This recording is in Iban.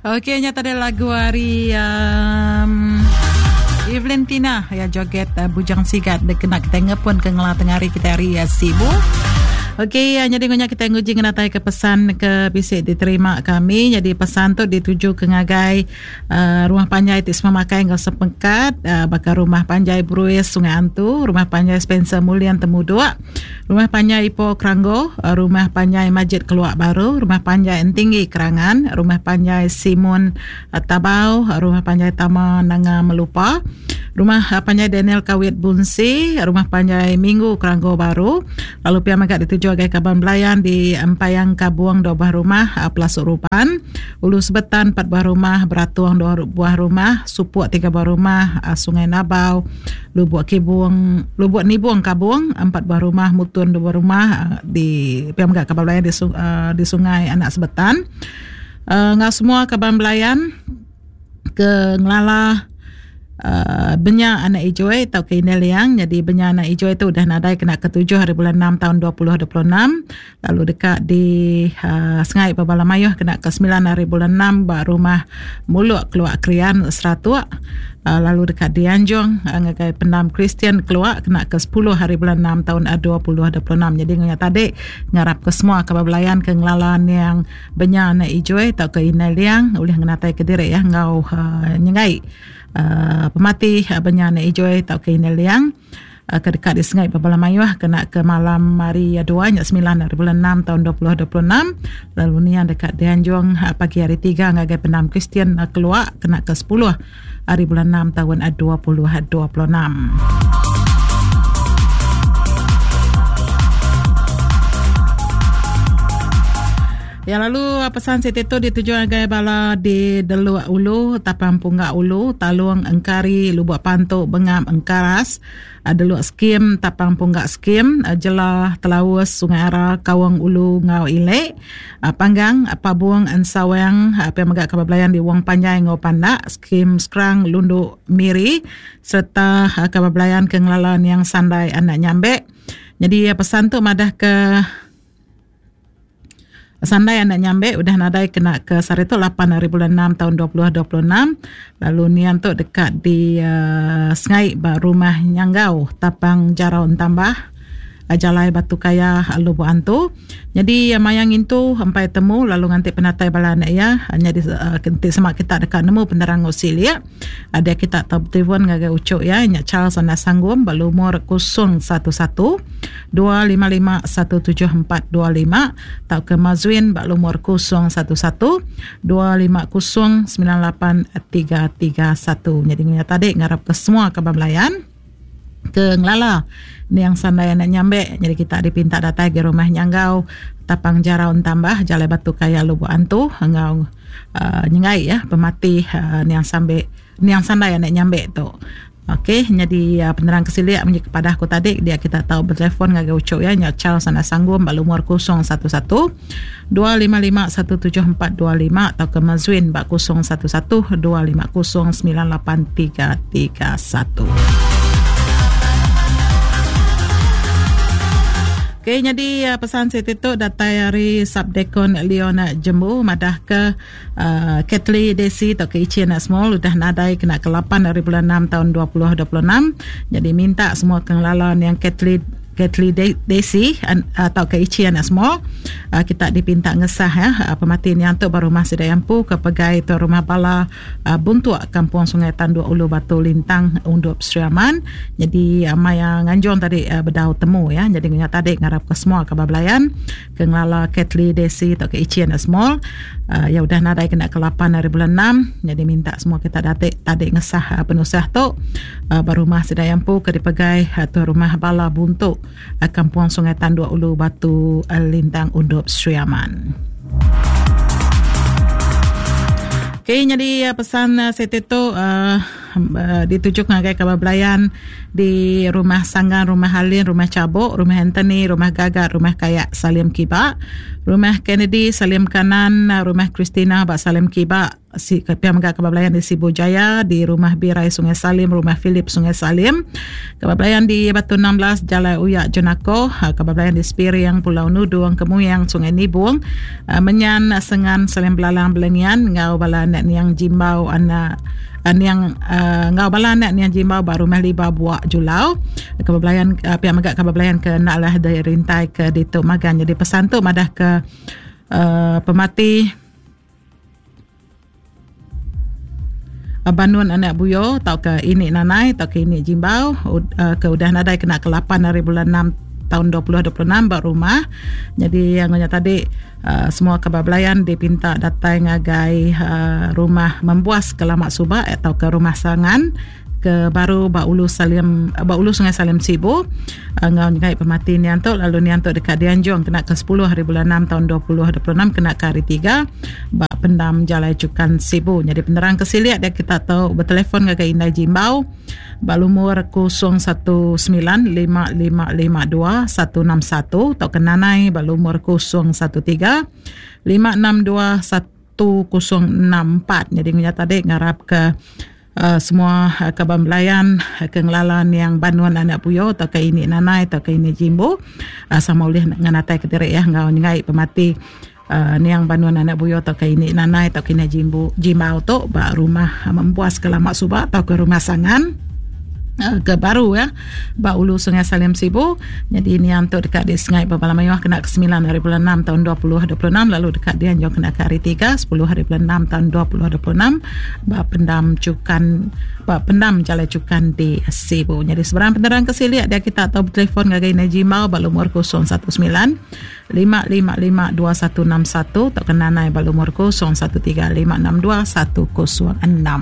Okey nya tadi lagu ari um, Evelyn Tina ya joget uh, Bujang Sigat dikena kita ngepun ke ngela tengah hari kita hari ya, Sibu. Okey, ya, jadi ngunya kita nguji ngenatai ke pesan ke bisi diterima kami. Jadi pesan tu dituju ke ngagai uh, rumah panjai ti semua makai enggau sepengkat uh, baka rumah panjai Bruis Sungai Antu, rumah panjai Spencer Mulian Temuduk, Rumah Panjai Ipoh Keranggo, Rumah Panjai Majid Keluak Baru, Rumah Panjai Entinggi Kerangan, Rumah Panjai Simun Tabau, Rumah Panjai Tama Nanga Melupa, Rumah Panjai Daniel Kawit Bunsi, Rumah Panjai Minggu Keranggo Baru, lalu pia mega dituju agai kaban belayan di Empayang Kabung dua buah rumah, Pelasuk Ruban, Ulu Sebetan empat buah rumah, Beratung dua buah rumah, Supuk tiga buah rumah, Sungai Nabau, Lubuk Kibung, Lubuk Nibung Kabung, empat buah rumah, Mutun dua buah rumah di pia mega kaban belayan di, uh, di Sungai Anak Sebetan. Uh, enggau semua kaban belayan ke ngelala uh, benya anak ijoi atau ke Indai Liang. Jadi benya anak ijoi tu udah nadai kena ke 7 hari bulan 6 tahun 2026. Lalu deka di uh, Sengai Bala Mayuh kena ke 9 hari bulan 6 ba rumah Muluk Keluak Krian Seratuk. Uh, lalu deka dianjung uh, ngagai pendam Kristian Keluak kena ke 10 hari bulan 6 tahun 2026. Jadi ngunya tadi ngarap ke semua ke belayan ke ngelala niang benya anak ijoi tau ke inai liang ulih ngenatai ke diri ya ngau uh, nyengai uh, pemati uh, benya anak ijoi tau ke inai liang. Ke deka disengai bebala mayuh kena ke malam hari dua nya semilan hari bulan enam taun 2026 lalu niang deka dianjung pagi hari tiga ngagai pendam Kristian Keluak kena ke sepuluh hari bulan enam taun 2026. Ya lalu pesan siti tu dituju ngagai bala di Deluk Ulu, Tapang Punggak Ulu, Talung Engkari, Lubuk Pantu, Bengap Engkaras, Deluk Skim, Tapang Punggak Skim, Jela, Telaus, Sungai Ara, Kaung Ulu enggau Ilek, Panggang, Pabung, Ensawang, pia mega kaban belayan di Wong Panjai enggau Pandak, Skim Skrang, Lundu, Miri sereta kaban belayan ke ngelala niang Sandai anak Nyambek. Nyadi pesan tu madah ke Sandai anak Nyambek udah nadai kena ke sehari tu lapan hari bulan enam taun 2026 lalu nian tu deka di uh, sengai ba rumah Nyanggau Tapang Jarau Entambah Jalai Batu Kaya Lubok Antu. Nyadi maya ngintu empai temu lalu nganti penatai bala anak iya nyadi uh, enti sema kita deka nemu penerang enggau silik dia kita tau betelefon ngagai uchu iya nya Charles Anak Sanggum ba lumur 011 255 17425 tauka Mazwin ba lumur 011 250 98331. Nyadi ngunya tadi ngarap ke semua kaban belayan ke ngelala niang sandai anak nyambek nyadi kita dipinta datai ke rumah Nyanggau Tapang Jarau Entambah Jalai Batu Kaya Lubok Antu enggau uh, nyengai ya pemati uh, niang sambe niang sandai anak nyambek tu. Okey, nyadi uh, penerang ke silik munyi kepada aku tadi dia kita tau bertelefon ngagai uchu ya nya Charles Anak Sanggum ba lumur 011 255 17425 tauka Mazwin ba 011 250 98331. Okey, nyadi uh, pesan siti tu datai ari Subdekon Leon Jembu madah ke Ketli Desi tauka Ichi Anak Small udah nadai kena ke 8 hari bulan 6 tahun 2026. Jadi minta semua ke ngelala niang Ketli Ketli Desi tauka Ichi Anak Small kita dipinta ngesah ya pemati niang tu ba rumah sida iya empu ke pegai tu rumah bala Buntuk Kampung Sungai Tanduk Ulu Batu Lintang Undup Sri Aman. Jadi maya nganjung tadi bedau temu ya. Jadi nya tadi ngarap ke semua kaban belayan ke ngelala Ketli Desi tauka Ichi Anak Small uh, ya udah nadai kena ke 8 hari bulan 6 jadi minta semua kita datik tadi ngesah uh, penusah tu uh, ba rumah sida empu ke dipegai uh, tu rumah Bala Buntu uh, Kampung Sungai Tanduk Ulu Batu uh, Lintang Undup Sri Aman. Okey, jadi uh, pesan uh, siti tu uh, dituju ngagai kaban belayan di Rumah Sanggan, Rumah Halin, Rumah Chabok, Rumah Anthony, Rumah Gagat, Rumah Kayak Salim Kiba, Rumah Kennedy Salim Kanan, Rumah Christina ba Salim Kiba, si pia mega kaban belayan di Sibu Jaya di Rumah Birai Sungai Salim, Rumah Philip Sungai Salim, kaban belayan di Batu 16 Jalai Uyak Jenako, kaban belayan di Spiring, Pulau Nudung, Kemuyang, Sungai Nibung, Menyan Sengan Salim Belalang Belengian enggau bala anak niang Jimbau anak niang enggau bala anak niang Jimbau ba Rumah Liba Buak Julau. Kaban belayan pia mega kaban belayan ke enda alah dirintai ke ditu magang nyadi pesan tu madah ke pemati Banun anak Buyo tauka ini Nanai tauka ini Jimbau ke udah nadai kena ke 8 hari bulan 6 tahun 2026 ba rumah. Jadi yang nya tadi semua kaban belayan dipinta datai ngagai rumah Membuas ke lama suba tauka rumah Sangan ke baru ba ulu Salim ba ulu Sungai Salim Sibu enggau nyegai pemati niang tu lalu niang tu deka dianjung kena ke 10 hari bulan 6 taun 2026 kena ke hari tiga ba pendam Jalai Chukan Sibu. Nyadi penerang ke silik dia kita tau betelefon ngagai Indai Jimbau ba lumur 019 5552 161 tauka Nanai ba lumur 013 562 1064. Nyadi ngunya tadi ngarap ke semua kaban belayan ke ngelala niang Banun anak Puyo tauka ini Nanai tauka ini Jimbu sama ulih ngenatai ke diri iya enggau nyengai pemati niang Banun anak Puyo tauka ini Nanai tauka ini Jimbu Jimbau tu ba rumah Mempuas ke lama suba tauka rumah Sangan ke baru ya ba ulu Sungai Salim Sibu. Nyadi niang tu deka disengai ba bala mayuh kena ke 9 hari bulan 6 taun 2026 lalu deka dianjung kena ke hari 3 10 hari bulan 6 taun 2026 ba pendam Chukan ba pendam Jalai Chukan di Sibu. Nyadi sebarang penerang ke silik dia kita tau betelefon ngagai Indai Jimbau ba lumur 019 555 2161 tauka Nanai ba lumur 013 562 106.